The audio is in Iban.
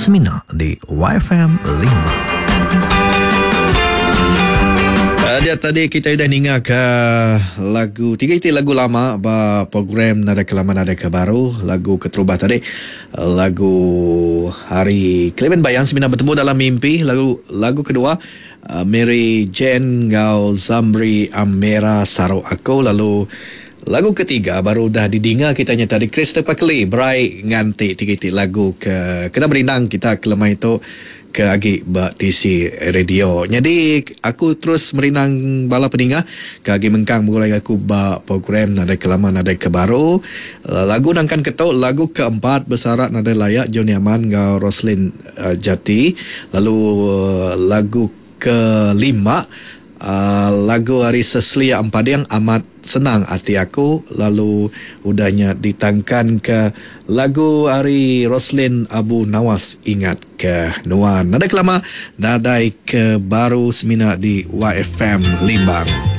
Semina di YFM Limbang. Dia tadi kita udah ninga ke lagu tiga iti lagu lama ba program Nadai Ke Lama Nadai Ke Baru. Lagu keterubah tadi lagu hari Clement Bayang semina betemu dalam mimpi. Lagu lagu kedua Mary Jane enggau Zamri Amera Saru Aku lalu Lagu ketiga baru udah didinga kita nya tadi Christopher Keli berai nganti tiga iti lagu ke kena merindang kita ke lemai tu ke agi ba tisi radio. Nyadi aku terus merindang bala peninga ke agi mengkang begulai enggau aku ba program Nadai Ke Lama Nadai Ke Baru. Lagu nangkan ke tu lagu keempat besarak nadai layak Johnny Aman enggau Roslin Jati lalu lagu Kelima, lagu ari Cecilia Empading amat senang ati aku lalu udah nya ditangkanka lagu ari Roslin Abu Nawas Ingat Ke Nuan. Nadai kelama, nadai ke baru semina di YFM Limbang.